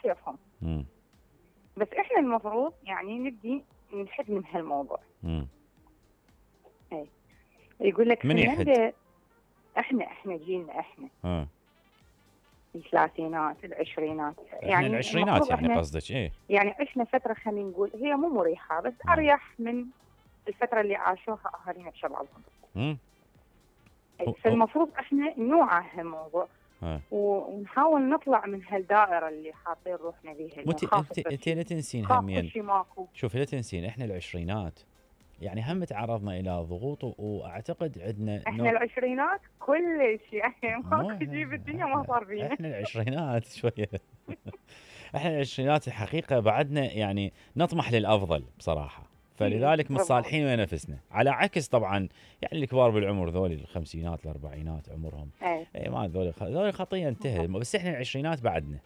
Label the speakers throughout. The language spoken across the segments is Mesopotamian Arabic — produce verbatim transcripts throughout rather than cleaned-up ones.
Speaker 1: كيفهم.
Speaker 2: امم
Speaker 1: بس احنا المفروض يعني نبدي نحد من هالموضوع.
Speaker 2: امم
Speaker 1: اي يقول لك
Speaker 2: من يحد؟
Speaker 1: فنلندا. احنا احنا جيلنا احنا
Speaker 2: اه
Speaker 1: الثلاثينات العشرينات
Speaker 2: احنا
Speaker 1: يعني
Speaker 2: العشرينات
Speaker 1: المفروض
Speaker 2: يعني
Speaker 1: احنا
Speaker 2: قصدك ايه؟
Speaker 1: يعني عشنا فتره خلينا نقول هي مو مريحه بس
Speaker 2: آه.
Speaker 1: اريح من الفتره اللي عاشوها اهالينا بشبابهم.
Speaker 2: امم
Speaker 1: أي، فالمفروض احنا نوعى هالموضوع
Speaker 2: اه
Speaker 1: ونحاول نطلع من هالدائره اللي حاطين روحنا بيها انه
Speaker 2: مت
Speaker 1: خاف
Speaker 2: انت انت
Speaker 1: تصير
Speaker 2: لا تنسين
Speaker 1: خاف
Speaker 2: همين.
Speaker 1: كل شيء ماكو.
Speaker 2: شوفي لا تنسين احنا العشرينات يعني هم تعرضنا الى ضغوط، واعتقد عندنا
Speaker 1: احنا
Speaker 2: نوع
Speaker 1: العشرينات كل شيء يعني
Speaker 2: مو
Speaker 1: ماكو شيء بالدنيا ما
Speaker 2: احنا
Speaker 1: صار فينا.
Speaker 2: احنا العشرينات شويه احنا العشرينات الحقيقه بعدنا يعني نطمح للافضل بصراحه، فلذلك متصالحين ويا نفسنا، على عكس طبعا يعني الكبار بالعمر ذولي الخمسينات الاربعينات عمرهم
Speaker 1: اي
Speaker 2: اي ما ذولي ذولي خطيه انتهت، بس احنا العشرينات بعدنا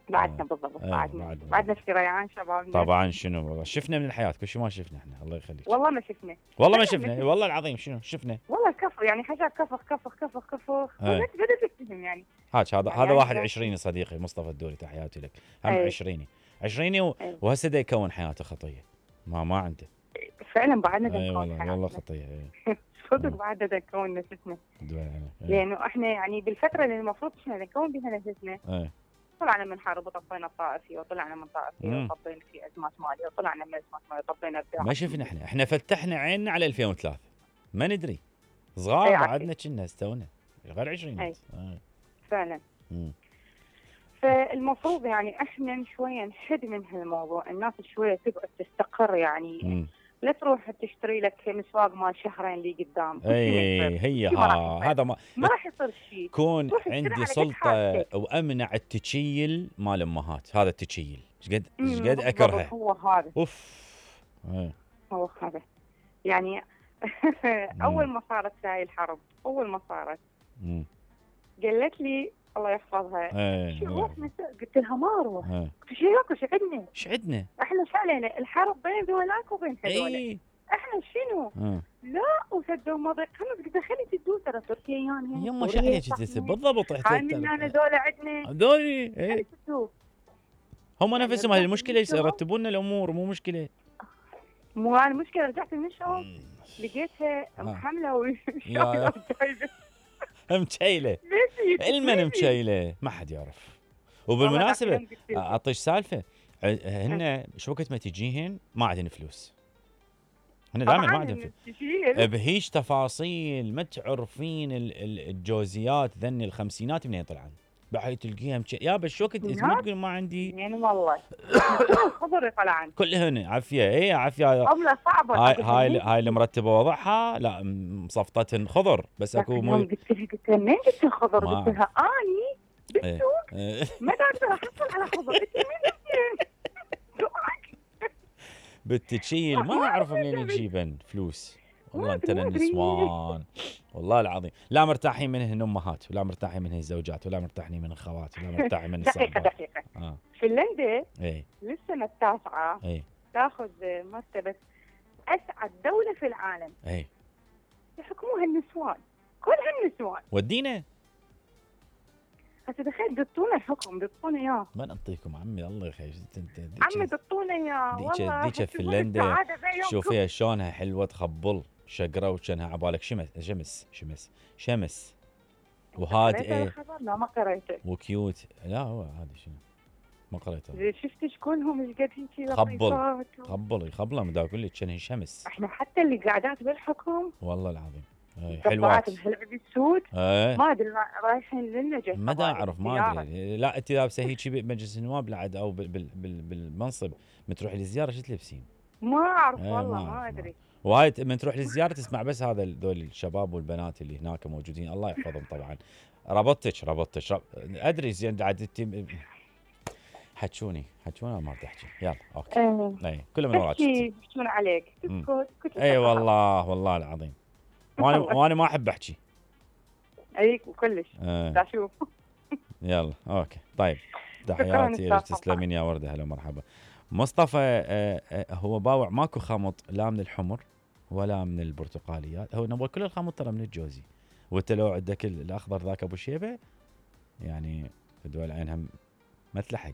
Speaker 1: بعدنا
Speaker 2: آه.
Speaker 1: بالضبط
Speaker 2: آه.
Speaker 1: بعدنا
Speaker 2: بعدنا
Speaker 1: بعدنا في ريعان شبابنا.
Speaker 2: طبعا شنو والله شفنا من الحياه كل شيء ما شفنا احنا الله يخليك.
Speaker 1: والله ما شفنا
Speaker 2: والله ما شفنا والله العظيم شنو شفنا.
Speaker 1: والله كفر يعني حاجات كفخ كفخ كفخ كفخ
Speaker 2: آه.
Speaker 1: بدأت بدأت تفهم يعني.
Speaker 2: هاك هذا
Speaker 1: يعني
Speaker 2: هذا واحد
Speaker 1: يعني
Speaker 2: عشريني صديقي مصطفى الدوري تحياتي لك، هم
Speaker 1: أي.
Speaker 2: عشريني عشريني و...
Speaker 1: أي.
Speaker 2: وهسه دا يكون حياته خطيه ما ما عنده.
Speaker 1: فعلا بعدنا
Speaker 2: اي
Speaker 1: نكون
Speaker 2: والله والله
Speaker 1: حياتنا
Speaker 2: خطيه اي
Speaker 1: صدق بعدنا نكون نفسنا
Speaker 2: دول عليك. إيه.
Speaker 1: لانه احنا يعني بالفتره اللي المفروض احنا نكون بها نفسنا
Speaker 2: اي
Speaker 1: طلعنا من حرب وطفينا الطائفيه وطلعنا من طائفيه
Speaker 2: مم.
Speaker 1: وطبينا في ازمات ماليه وطلعنا من ازمات ماليه وطبينا ابداع.
Speaker 2: ما شفنا احنا احنا فتحنا عيننا على ألفين وثلاثة ما ندري صغار
Speaker 1: أي
Speaker 2: بعدنا كنا استونا غير عشرينات.
Speaker 1: أي. فعلا.
Speaker 2: مم.
Speaker 1: فالمفروض يعني احنا شويه نحد من هالموضوع، الناس شويه تقعد تستقر يعني
Speaker 2: مم.
Speaker 1: لا تروح تشتري لك مسواق مال شهرين اللي قدام.
Speaker 2: اي هي
Speaker 1: ما راح
Speaker 2: ها
Speaker 1: يصير.
Speaker 2: هذا ما
Speaker 1: ما راح يصير شيء.
Speaker 2: كون
Speaker 1: روح اشتري
Speaker 2: عندي
Speaker 1: على قد
Speaker 2: سلطه
Speaker 1: حاجتك.
Speaker 2: وامنع التشيل مال امهات، هذا التشيل ايش قد ايش
Speaker 1: أمم،
Speaker 2: قد
Speaker 1: بالضبط،
Speaker 2: اكرهه
Speaker 1: هو هذا
Speaker 2: اوف. إيه.
Speaker 1: هو هذا يعني اول ما صارت هاي الحرب اول ما صارت
Speaker 2: مم.
Speaker 1: قالت لي الله يحفظها
Speaker 2: ايه
Speaker 1: شو
Speaker 2: الله
Speaker 1: روح
Speaker 2: يحفظك.
Speaker 1: مساء؟ قلت لها ما اروح.
Speaker 2: ايه
Speaker 1: قلت شو ياكل شو عندنا؟
Speaker 2: ايش عندنا؟
Speaker 1: احنا شو علينا؟ الحرب بين ذولاك وبين هذول.
Speaker 2: اي
Speaker 1: احنا شنو؟
Speaker 2: اه
Speaker 1: لا وسدوا مضيق خلص قلت خلي تدوا ترى تركيا يعني
Speaker 2: يما شو عليك تسب بالضبط
Speaker 1: هاي من انا ذولا عندنا
Speaker 2: هذولي
Speaker 1: خلي
Speaker 2: ايه
Speaker 1: تدوا.
Speaker 2: هم
Speaker 1: يعني
Speaker 2: نفسهم
Speaker 1: رجعت
Speaker 2: المشكله
Speaker 1: من الشغل.
Speaker 2: يرتبون لنا الامور مو مشكله.
Speaker 1: مو انا المشكله رجعت من الشغل
Speaker 2: مم.
Speaker 1: لقيتها
Speaker 2: آه.
Speaker 1: محمله
Speaker 2: يا-
Speaker 1: وشايله وجايبه
Speaker 2: مشيله
Speaker 1: ليش
Speaker 2: المن مشيله ما حد يعرف. وبالمناسبه اعطيش سالفه هن شو وقت ما تجيهن ما عندهن فلوس، هن دائما ما عندهم فلوس بهيج تفاصيل ما تعرفين ال- ال- الجوزيات ذني الخمسينات منين طلعن بحي تلقيها مش... يا بس شو كنت ما تقول ما عندي
Speaker 1: يعني والله خضر طلعن
Speaker 2: كلهن عافيه اي عافيه.
Speaker 1: عمله صعبه
Speaker 2: هاي هاي هاي المرتبه وضعها لا مصفطتهن خضر بس اكو
Speaker 1: مو قلت لها قلت لها منين جبت الخضر؟
Speaker 2: ما
Speaker 1: قلت لها اني
Speaker 2: إيه.
Speaker 1: بالسوق
Speaker 2: إيه.
Speaker 1: ما قادره احصل على خضر. قلت لها
Speaker 2: بالتشيل ما اعرف منين يجيبن فلوس والله انت
Speaker 1: ما أدري.
Speaker 2: النسوان والله العظيم لا مرتاحين منهن امهات ولا مرتاحين منهن الزوجات ولا مرتاحين من الخوات ولا مرتاحين من
Speaker 1: دقيقه
Speaker 2: الصحبات.
Speaker 1: دقيقه
Speaker 2: اه
Speaker 1: فنلندا
Speaker 2: اي
Speaker 1: للسنه التاسعه
Speaker 2: اي
Speaker 1: تاخذ مرتبه اسعد دوله في العالم
Speaker 2: اي
Speaker 1: يحكموها النسوان كلها النسوان.
Speaker 2: ودينا
Speaker 1: هسه تخيل دطونا الحكم دطونا اياه
Speaker 2: ما نعطيكم عمي الله يخليك انت
Speaker 1: عمي دطونا اياه
Speaker 2: ديك
Speaker 1: والله
Speaker 2: ديك فنلندا شوفيها شلونها حلوه تخبل شقره وكانها عبالك شمس شمس شمس شمس وهادئه
Speaker 1: لا ما قريته
Speaker 2: وكيوت. لا هو هذا شنو ما قريته
Speaker 1: إذا شفت شكونهم ايش قد هيك
Speaker 2: خبل خبل خبله مدا اقول لك كانها شمس.
Speaker 1: احنا حتى اللي قاعدات بالحكم
Speaker 2: والله العظيم اي
Speaker 1: حلوات
Speaker 2: حلوات
Speaker 1: بهالعب السود
Speaker 2: ايه
Speaker 1: ما ادري رايحين للنجف
Speaker 2: ما دا اعرف ما ادري. لا انت لابسه هيك بمجلس النواب بعد او بال بال بال بالمنصب من تروح للزياره شو تلبسين؟
Speaker 1: ما اعرف
Speaker 2: ايه
Speaker 1: والله
Speaker 2: ما,
Speaker 1: ما ادري.
Speaker 2: وهاي من تروح للزياره تسمع بس هذا ذول الشباب والبنات اللي هناك موجودين الله يحفظهم طبعا. ربطتك ربطتك رب... ادري زين عاد انت حتشوني حتشوني ما تحكي يلا اوكي
Speaker 1: ايه
Speaker 2: اي كله من وراك
Speaker 1: يحكون عليك تسكت كنت
Speaker 2: اي والله والله العظيم وانا وانا ما احب احكي
Speaker 1: اي كلش
Speaker 2: اه.
Speaker 1: اشوف
Speaker 2: يلا اوكي طيب تحياتي لك تسلمين يا ورده هلا مرحبا. مصطفى آه آه هو باوع ماكو خمط لا من الحمر ولا من البرتقاليات هو نبغى كل الخمط ترى من الجوزي. وانت لو عندك الاخضر ذاك ابو شيبه يعني في دول العين هم ما تلحق